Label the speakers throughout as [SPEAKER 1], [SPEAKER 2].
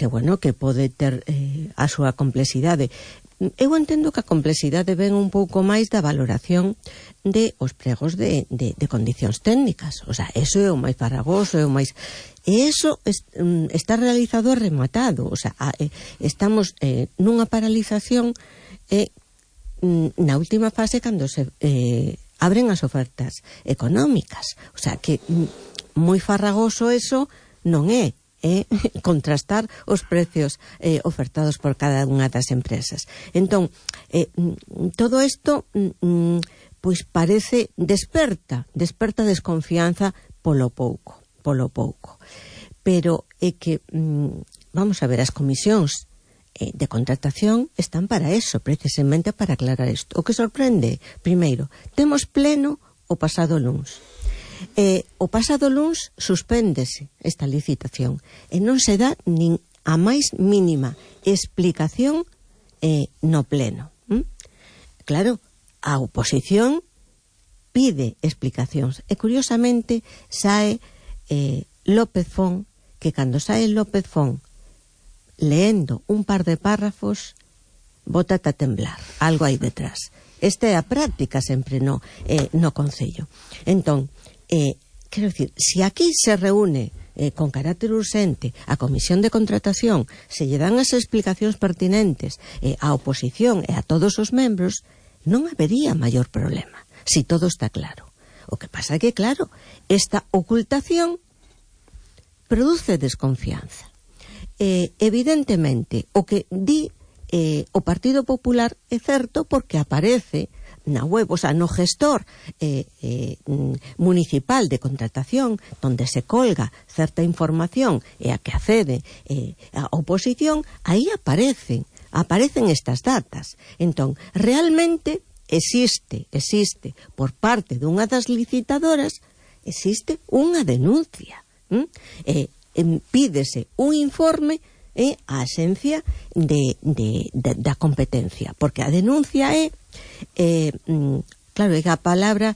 [SPEAKER 1] bueno, que pode ter a súa complexidade. Eu entendo que a complexidade ven un pouco máis da valoración de os pregos de condicións técnicas. O sea, eso é o máis farragoso, é o máis... E eso está realizado e rematado. O sea, estamos nunha paralización na última fase cando se abren as ofertas económicas. O sea, que moi farragoso eso non é. Contrastar os precios ofertados por cada unha das empresas. Entón, todo isto pois parece desperta desconfianza polo pouco. Pero é que vamos a ver, as comisións de contratación están para eso, precisamente para aclarar isto. O que sorprende, primeiro, temos pleno o pasado luns. O pasado luns suspéndese esta licitación e non se dá nin a máis mínima explicación no pleno. Claro, a oposición pide explicacións e curiosamente sae López Fon, que cando sae López Fon leendo un par de párrafos bótate a temblar, algo hai detrás. Esta é a práctica sempre no Concello. Entón, quero dicir, se aquí se reúne con carácter urxente a Comisión de Contratación, se lle dan as explicacións pertinentes á oposición e a todos os membros, non habería maior problema, si todo está claro. O que pasa é que, claro, esta ocultación produce desconfianza. Evidentemente, o que di o Partido Popular é certo porque aparece na web, o sea, no gestor municipal de contratación, donde se colga certa información e a que accede a oposición, aí aparecen estas datas. Entón, realmente existe por parte dunha das licitadoras, existe unha denuncia. Pídese un informe á Axencia da Competencia, porque a denuncia é claro, é que a palabra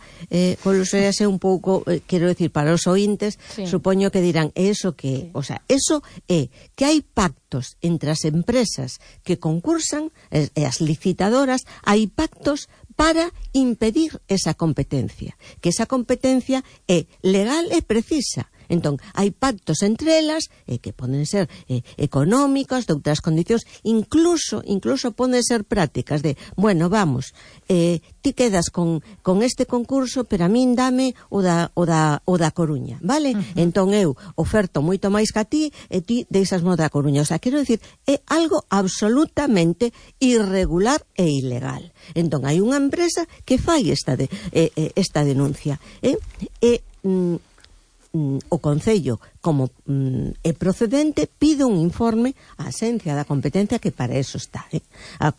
[SPEAKER 1] colosease un pouco, quero decir, para os ointes, sí. Supoño que dirán, eso que, sí. O sea, eso é que hai pactos entre as empresas que concursan e as licitadoras, hai pactos para impedir esa competencia, que esa competencia é legal e precisa. Entón, hai pactos entre elas que poden ser económicas, de outras condicións, incluso poden ser prácticas de, bueno, vamos, ti quedas con este concurso, pero a min dame o da Coruña, vale? Entón eu oferto moito máis que a ti e ti deixasmo da Coruña. O sea, quero dicir, é algo absolutamente irregular e ilegal. Entón, hai unha empresa que fai esta denuncia. O Concello, como é procedente, pide un informe á Axencia da Competencia, que para eso está, a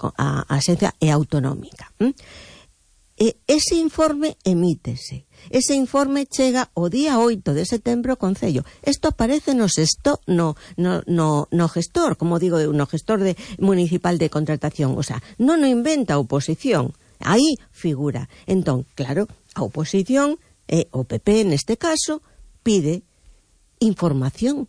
[SPEAKER 1] Axencia é autonómica. Ese informe emítese. Ese informe chega o día 8 de setembro ao Concello. Isto aparece no gestor, como digo, no gestor municipal de contratación. O sea, non o inventa a oposición. Aí figura. Entón, claro, a oposición, o PP neste caso, pide información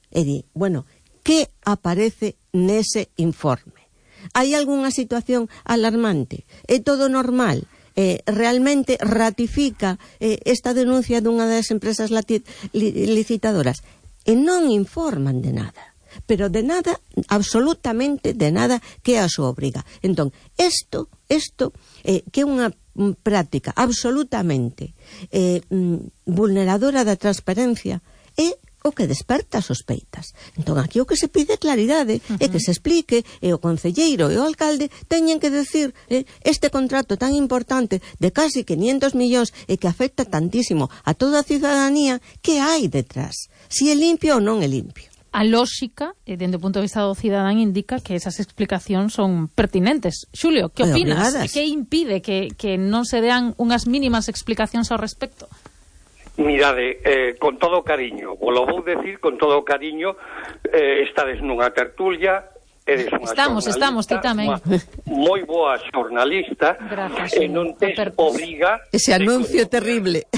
[SPEAKER 1] e di, bueno, que aparece nese informe? Hai algunha situación alarmante? É todo normal? Realmente ratifica esta denuncia dunha das empresas licitadoras? E non informan de nada, pero de nada, absolutamente de nada, que a súa obriga. Entón, isto que é unha práctica absolutamente vulneradora da transparencia, é o que desperta sospeitas. Entón, aquí o que se pide é claridade, é que se explique, e o concelleiro e o alcalde teñen que decir este contrato tan importante de casi 500 millóns e que afecta tantísimo a toda a cidadanía, que hai detrás? Si é limpio ou non é limpio?
[SPEAKER 2] A lógica, dende o punto de vista do cidadán, indica que esas explicacións son pertinentes. Xulio, que opinas? Que impide que non se dean unhas mínimas explicacións ao respecto?
[SPEAKER 3] Mirade, con todo cariño, vos lo vou decir con todo cariño, estades nunha tertulia, eres unha
[SPEAKER 2] Estamos, ti tamén.
[SPEAKER 3] Moi boa xornalista.
[SPEAKER 2] Gracias,
[SPEAKER 3] e non tes obriga...
[SPEAKER 1] Ese anuncio terrible.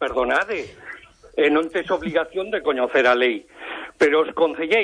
[SPEAKER 3] Perdonade, non tes obligación de coñecer a lei, pero os concelleiros